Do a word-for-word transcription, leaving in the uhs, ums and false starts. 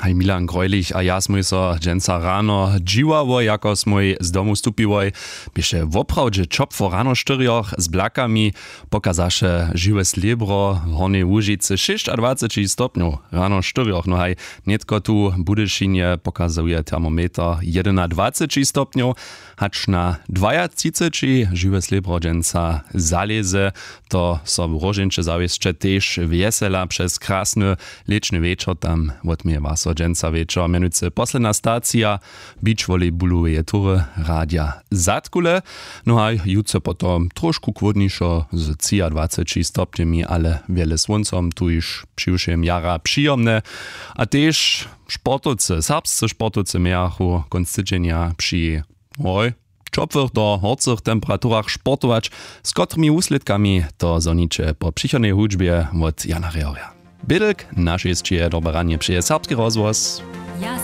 Haj, Milan Greulich a ja smój so dźensa rano dźiwało, jako smój z domu stupiłoj. Běše woprawdźe ćopło rano štyrjoch z blakami. Pokazaše žiwe slěbro w Hornjej Łužicy šěsćadwaceći stopnjow rano štyrjoch. No haj, nětko tu w Budyšinje pokazuje termometer jedynadwaceći stopnjow. Hač na dwajatřiceći žiwe slěbro dźensa zalěze. To so w róžeńće zawěsće tež wjesela přez krasny lěćny wječor. Tam wotměje waso dźensa wječor mjenujcy posledna stacija beach volleybuloweje tury radja zadkule. No a jutře potom trošku chłódnišo z třiadwaceći stopnjemi, ale wjele słóncom, tuž přiwšěm jara přijomne. A tež sportowcy serbscy sportowcy mějachu kónc tydźenja při hoj, ćopłych do horcych temperaturach sportować. Z kotrymi wuslědkami, to zhoniće po přichodnej hudźbje wot Jana Rejorja. Bědlk na šěsće dobre ranje přeje Serbski rozhłos. Ja